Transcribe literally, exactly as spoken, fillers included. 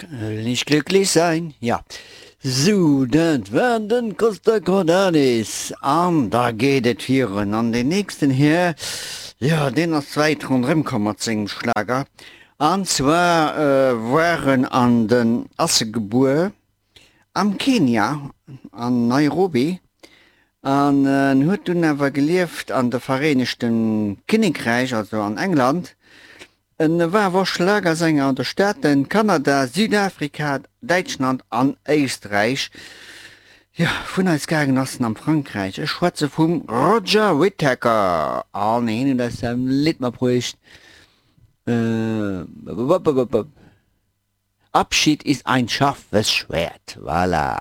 Will nicht glücklich sein, ja. Sou, dat war den Costa Cordalis. An da geet et virun. An deen nächsten Här, jo, deen ass wäit ronderëm komm mat sengem Schlager. An zwar war en an den, ass e gebuer am Kenia, an Nairobi, an en huet dunn awer gelieft an de Vereenegte Kinnekräich, also an England. En war awer och Schlagersänger an de Staaten, Kanada, Südafrika, Däitschland an Éisträich. Jo, vun eis gaangen ass en am Frankräich. Ech schwätze vum Roger Whittaker an hien huet eis säin Lidd matbruecht, Abschied ist ein scharfes Schwert. Voilà.